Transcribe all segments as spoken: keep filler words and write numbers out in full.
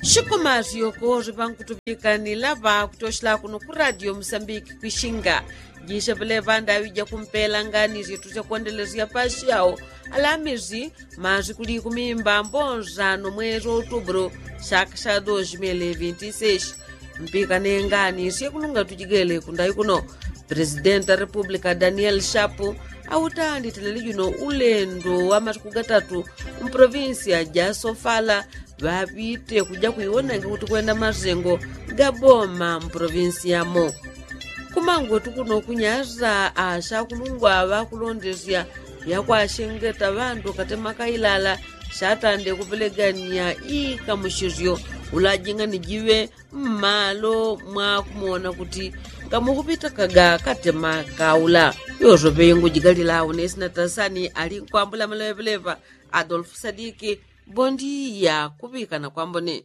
Shikuma syoko syaŵankutuŵikanila ŵakutoshela kuno ku radio musambiki kwishinga. Jisya ŵeleŵa ndaŵi jakumpela ngani syetu syakwendelesya pasyawo alamisi masiku likumi mbambo nsano mwezi wa utubulu syaka sya dos mil vinti seis. Mpikane ngani syekulunga tujigele kundayi kuno. Presidenti wa republika daniel shapu autanditile lijuno ulendo wa masiku gatatu mu provinsiya ja sofala ŵaŵite kuja kwiwonange kuti kwenda masengo ga boma mu provinsi yamo. Kumangwetu kuno kunyasa asyakulungwa ŵakulondesya yakwashengeta ŵandu katema kailala syatande kupelegania ikamusisyo ulajinga ni jiŵe mmalo mwakumona kuti ngamukupitakaga katema kaula. Yosope ingujigalila unesina tasani ali nkwambula maleŵeleŵa. Adolfu sadiki. Bondiya kuŵikana kwambone.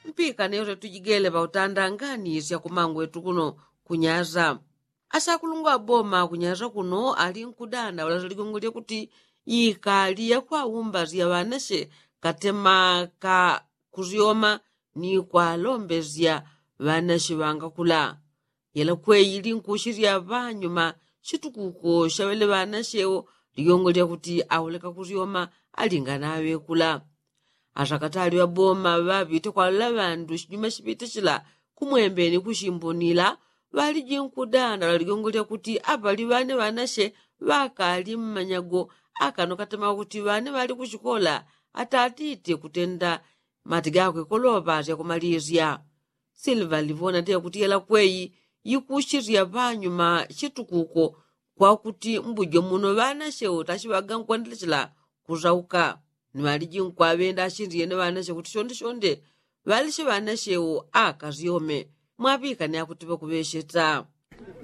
Mpikane yote tujigele ŵautanda ngani syakumangwetu kuno kunyasa. Asakulungwa boma kunyasa kuno ali nkudanda ula saligongo lyakuti ikali yakwaumba syaŵanasye katema ka kusyoma ni kwalombesya ŵanasye ŵangakula. Yela kweyi linkushilya ŵanyuma shitukuko syaŵele ŵanasyewo ligongo lyakuti auleka kusyoma alingana aŵekula. Asakatali ŵaboma ŵaŵite kwalula ŵandu shinyuma shipite shila kumwembeni kushimbunila ŵaliji nkudanda ŵaligongo lyakuti aŵali ŵane ŵanasye ŵakali mmanyago akano katema kuti ŵane ŵali kushikola atatite kutenda mati gakwe koloŵa syakumalisya. Silva livona tyakuti yela kweyi yikushilya ŵanyuma shitukuko kwakuti mbujo muno ŵanasye utashi ŵagankwandelechela kusauka. Ni ŵaliji nkwaŵenda ashindiyene ŵanasye kuti shonde shonde ŵalisye ŵanasye akasyome. Mwaŵikane akuti ŵakuŵesheta.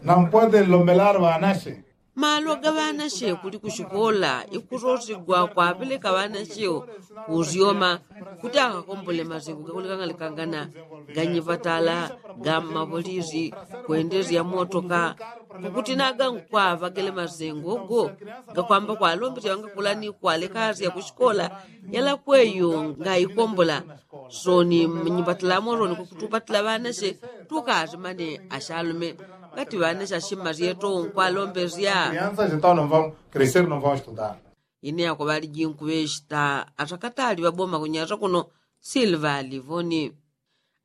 Nampwate lombelar ŵanasye. Malo ga ŵanasye kuli kushikola ikusosigwa kwaŵeleka ŵanasye kusyoma kuti akakombole masengo gakulikangalikangana ganyivatala ga mmapolisi kwendesya motoka. Kukuti naga nkwaŵagele masengo go gakwamba kwalombesya ŵangakula ni kwalekasya kushikola yala kweyo ngaikombola. Soni mnyipatila mosoni kukutupatila ŵanasye tukati mane asyalume ngati ŵanasye asyima syeto nkwalombesya. Ine yako ŵaliji nkuŵeshita asakatali ŵaboma kunyasa kuno silva livoni.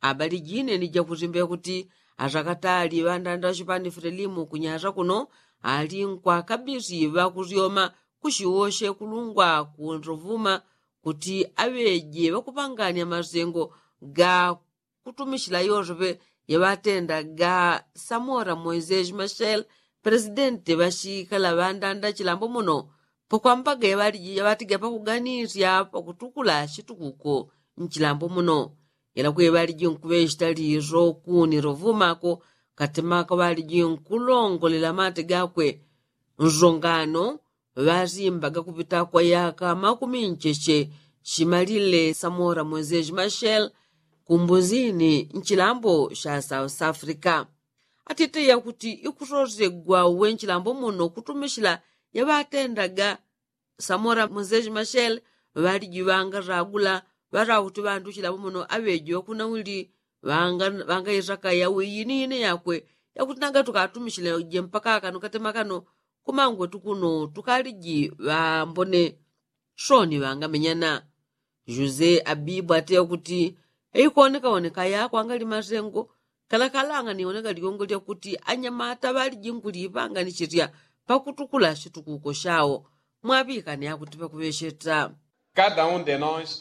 Abali jine ni jakusimbe kuti asakatali ŵandanda ŵashipani frelimu kunyasa kuno ali nkwakabisi ŵakusyoma kushiwoshe kulungwa kunrovuma kuti aŵeje ŵakupangania masengo ga kutumishila yonsoŵe yaŵatenda ga samora moisesi mashel presidenti ŵashikala ŵandanda chilambo muno. Pakwambaga yaŵatiga pakuganisya pakutukula shitukuko nchilambo muno. Yela kweŵaliji nkuŵeshita liso kuni lovumako katemaka ŵaliji nkulongolela mate gakwe. Nsongano ŵasimbaga kupita kwa yaka makumi ncheche shimalile samora moses mashel kumbuzini nchilambo sha south africa. Atite yakuti ikusosegwa uwe nchilambo muno kutumishila yaŵatendaga samora moses mashel ŵaliji ŵangasagula ŵasakuti ŵandu chilambo muno aŵeji ŵakunawili ŵangaisaka yawi yini yini yakwe yakuti nanga tukatumishile je mpaka kano katema kano kumangwe tukuno tukaliji ŵambone. Soni ŵangamenyana. Jose abibu ateya kuti eikonekaoneka yakwa ngali masengo kalakalanga niwoneka ligongo lyakuti anyamata ŵaliji nkulipanga ni chirya pakutukula shitukuko shawo. Mwaŵikane akuti pakuŵesheta.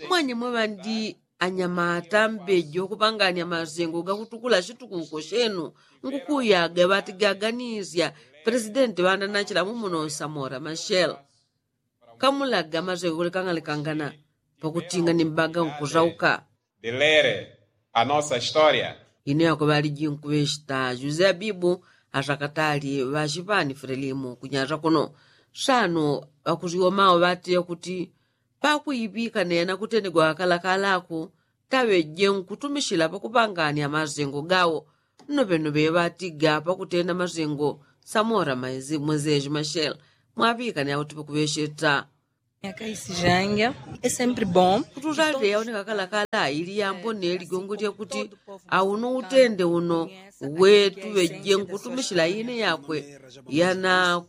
Mwanyemwe ŵandi anyamata mbeji wakupangania masengo gakutukula shitukuko shenu ngukuyaga ŵatigaganisya. Presidenti ŵandanachila mumuno samora mashel kamulaga masengo kulikangalikangana pakutinga ni mbaga nkusauka. Ine yako ŵaliji nkuŵeshita jose abibu asakatali ŵashipani frelimu kunyasa kuno. Sano ŵakusyomao ŵateya kuti pakuiŵika nena kutenegwa kalakalaku taŵeje nkutumishila pakupangania masengo gawo. Nnoŵenoŵe ŵatiga pakutenda masengo samora moses mashel. Mwaŵikane akuti pakuŵesheta. Akaisi janja. É sempre bom. Kutuzateya oneka kalakala ili yambone ligongo lyakuti auno utende uno wetu weje nkutumisila ine yakwe yana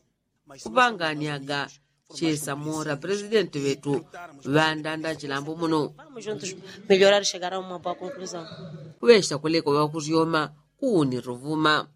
kupanganyaga. Chesa mora presidenti wetu ŵandanda chilambo muno. Melhorar chegar a uma boa conclusão. Kuŵesha kuleko ŵakusyoma kuuni tuvuma.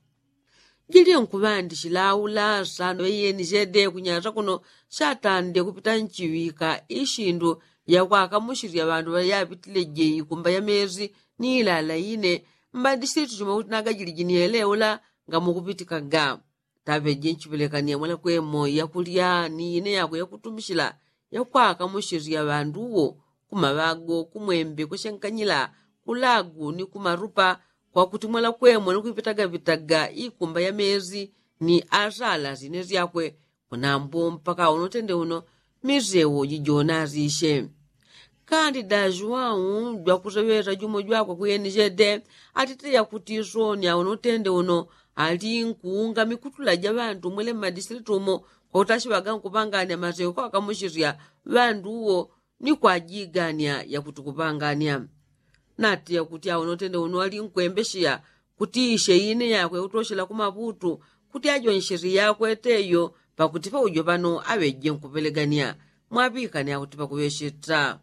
Jilye nkuŵandichilaula sano iyeni chede kunyasa kuno chatande kupita nchiŵika ishindu yakwakamuchirya ŵandu ŵayapitile je ikumba ya mezi ni ilala ine. Mbandishili tuchuma kuti nagajili jinieleula ngamukupitikaga. Taŵeje nchiŵelekania mwela kwemo yakulya ni ine yakwe yakutumichila yakwakamuchirya ŵandu uwo kumaŵago kumwembe kweshenkanyila kulagu ni kumarupa kwakuti mwela kwemo ni kuipitaga pitaga ikumba ya mezi ni asala zine zyakwe. Kunambu mpaka uno tende uno misewo jijona azishe. Kandi da juwau jwakuseŵesa jumo jwakwe kuyeni chede atiteya kuti soni auno tende uno ali nkuunga mikutula ja ŵandu mwele mmadisilitu umo kwautachiŵaga nkupangania masewo kwakamuchirya ŵandu uwo ni kwajigania yakuti kupangania. Natiya kuti auno tende uno ali nkwembesheya kuti ishe ine yakwe utoshela kumaŵutu kuti ajonsheri yakwe teyo pakuti paujo pano aŵeje nkupelegania. Mwaŵikania kuti pakuŵesheta.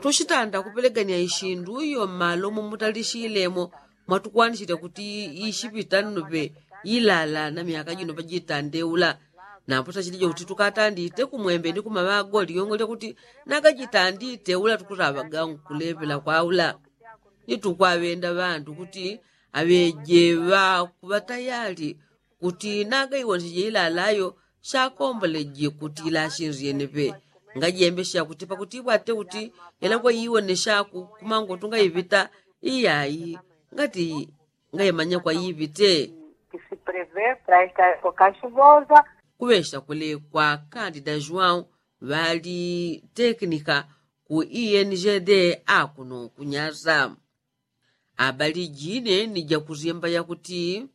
Tushitanda kupelegania ishindu iyo mmalo momutalishiilemo mwatukwanishelya kuti ishipita nnoŵe ilala na myaka jino pajitandeula. Nambo tachilije kuti tukatandite kumwembe ni kumaŵago ligongo lyakuti nagajitandite ula tukusaŵaga nkuleŵela kwaula. Ni tukwaŵenda ŵandu kuti aŵeje ŵakuŵa tayali kuti nagaiwonseje ilalayo chakomboleje kuti ilashinzyeneŵe. Ngajembesha kuti pakuti iŵate kuti yelakwe iwoneshaku kumangotu ngaiŵita iyayi ngati ngaimanya kwaiŵite. Kuŵesha kule kwa kandida juwau ŵali tekinika ku iyeni jede akuno kunyasa. Abali jine ni jakusyemba yakuti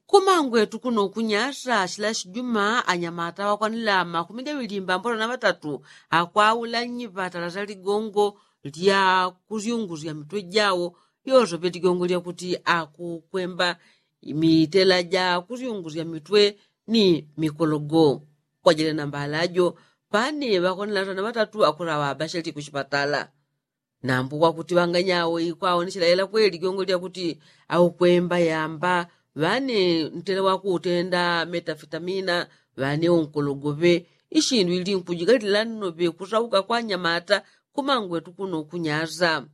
kumangwetu kuno kunyasa chila chijuma anyamata ŵakwanila makumi gaŵili mbambolo na ŵatatu akwaula nyiŵatala za ligongo lya kusyungusya mitwe jawo yosoŵe ligongo lyakuti akukwemba mitela ja kusyungusya mitwe ni mikologo. Kwajele na mbala jo pane ŵakwanila sana ŵatatu akulaŵa abashali kuchipatala. Nambu kwakuti ŵanganyawo ikwaonechela yela kweli jongo lyakuti aukwemba yamba ŵane ntela wakuutenda metafitamina ŵane unkologoŵe. Ishindu ili nkujigalila nnoŵe kusauka kwa nyamata kumangwetu kuno kunyaza.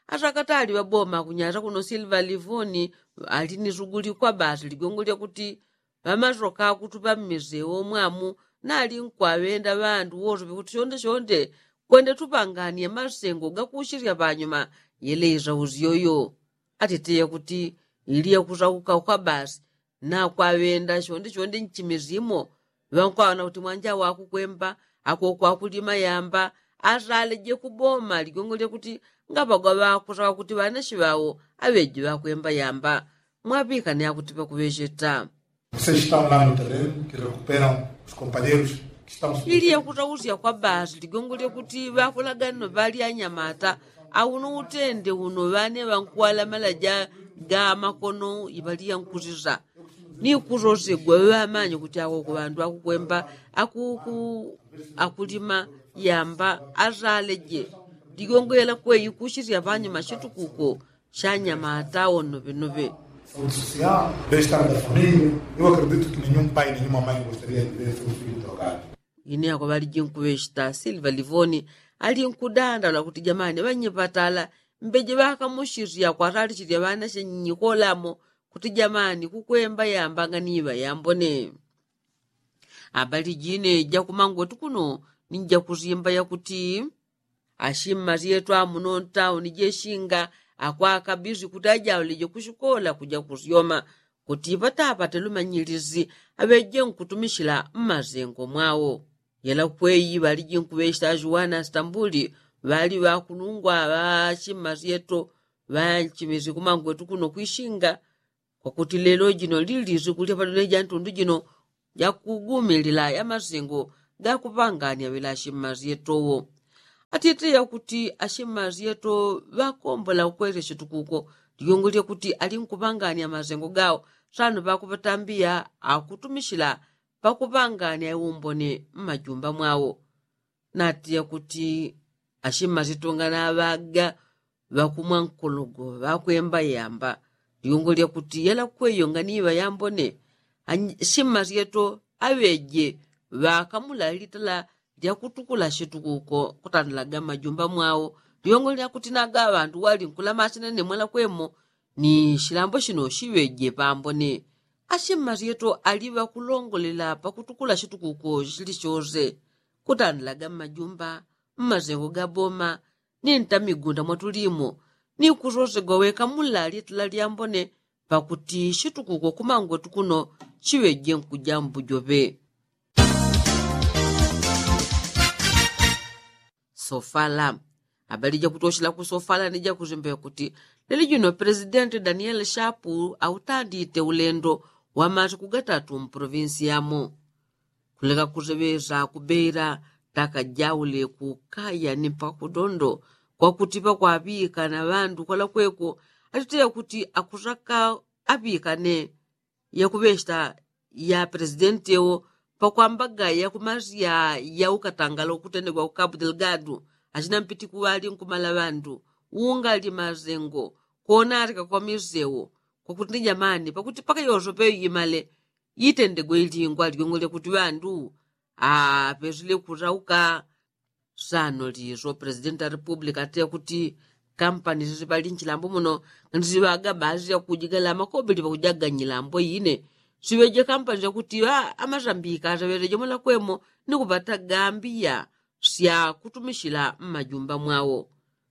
Asakatali ŵaboma kunyaza kuno silva livoni ali ni suguli kwa basi ligongo lyakuti ŵamasoka kutupa mmisewo mwamu nali nkwaŵenda ŵandu wosoŵe kuti chonde chonde kwende tupanganie masengo gakuchirya ŵanyuma. Yele isausyo yo atiteya kuti ili yakusauka kwa basi nakwaŵenda chonde chonde nchimizimo ŵankwaŵona kuti mwanja wakukwemba akokwakulima yamba asaleje kuboma ligongo lyakuti ngapagwa ŵakusaka kuti ŵanashi ŵawo aŵeji ŵakwemba yamba. Mwaŵikane akuti ŵakuŵecheta. Vocês estão lá no terreno que recuperam os companheiros que estão. Ili yakusausya kwa basi ligongo lyakuti ŵakulaganino ŵali anyamata auno utende uno ŵane ŵankuŵalamala ja ga makono iŵali yankusisa ni kusosegwa ŵamanye kuti akoko ŵandu akukwemba akuku akulima yamba asaleje. Ligongo yela kweyi kuchisya ŵanyuma chitukuko chanyamata onoŵenoŵe. Ine ako ŵali jinkuŵecheta silva livoni ali nkudandaula kuti jamani ŵanyipatala mbeje ŵakamuchisya kwatalichilya ŵanache nyikolamo kuti jamani kukwemba yamba nganiŵa yambone. Abali jine jakumangwetu kuno ni jakusimba yakuti achimma syetu amuno ntauni jeshinga akwakabizi kuti ajaulije kuchikola kuja kusyoma kuti ŵatapate lumanyilisi aŵeje nkutumichila mmasengo mwawo. Yela kweyi ŵaliji nkuŵecheta ajuwana stambuli ŵali ŵakunungwa ŵachimma syetu ŵanchimisi kumangwetu kuno kwishinga kwakuti lelo jino lili siku lyapadole ja ntundu jino. jakugumilila ya masengo gakuŵangania ŵela ashimmazi yetowo. Atite yakuti ashimmazi yeto ŵakombola ukwelesya tukuko ligongo lyakuti alinkuŵangania masengo gawo sano ŵakuŵatambiya akutumishila pakuŵangania iumbone mmajumba mwawo. Nati yakuti ashimmazi yeto nganaŵaga ŵakumwa nkologo ŵakwemba yamba ligongo lyakuti yalakweyo nganiŵa yambone. Ashimma syeto aŵeje ŵakamula litala lyakutukula shitukuko kutandilaga mmajumba mwawo. Ligongo lyakuti naga ŵandu walinkulama shinene mwalakwemo ni shilambo shino shiŵeje pambone. Ashimma syeto aliŵakulongolela pakutukula shitukuko shili shose kutandilaga mmajumba, mmasengo ga boma ni ntamigunda mwatulimo ni kusosegwa weka mulali tala lyambone pakuti shitukuko kumangwetu kuno shiŵeje nkuja mbujoŵe. Sofala. Abali jakutoshela kusofala ni jakuzimbe kuti leli juno presidenti daniel shapu autandite ulendo wa masiku gatatu mprovinsi yamo. Kuleka kuseŵesa kubeila taka jaule kukaya ni mpaka kudondo kwakuti pakwaŵikana ŵandu kwalakweko. Atiteya kuti akusaka aŵikane yakuŵesta ya presidenti ewo pakwambaga yakumasya yaukatangala ukutendegwa kukabu delgadu. Achina mpiti kuŵali nkumala ŵandu ungali masengo konalika kwamisewo kwakuti ni jamani pakuti paka yosope yimale yitendegwe ilingwa ligongo lyakuti ŵandu apesile kusauka. Sano liso presidenti a republika ati yakuti kampani sisiŵali nchilambo muno nisiŵaga baasi yakujigala makobili pakujaga nyilambo yine siŵeje kampani syakuti amasambika seŵeleje mwalakwemo ni kupata gambiya syakutumishila mmajumba mwawo.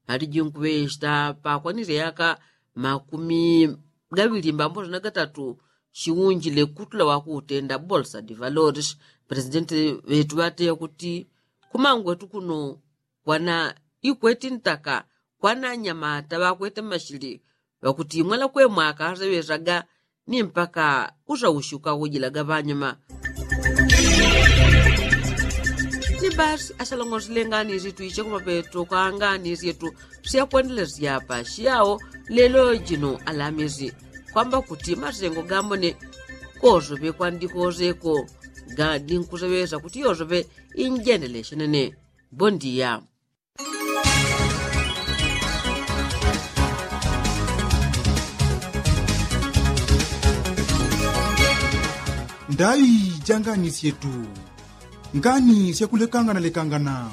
Aliji nkuŵesta pakwanile yaka makumi gaŵili mbamboso na gatatu shiunjile kutula wakutenda bolsa de valores. Presidenti ŵetu ŵateya kuti kumangwetu kuno kwana ikweti ntaka kwana anyamata ŵakwete mmashili ŵakuti mwalakwemo akaseŵesaga ni mpaka usaushi ukakujilaga ŵanyuma. Ni basi asalongosile ngani syetu isye kumapeto kwa ngani syetu syakwendelesya pa shiyao lelo jino alamisi kwamba kuti masengo gambone kosoŵe kwandikoseko gandi nkuseŵesa kuti yosoŵe injendelesye nene. Bondia. Ndai ja ngani syetu. Ngani syakulekangana lekangana.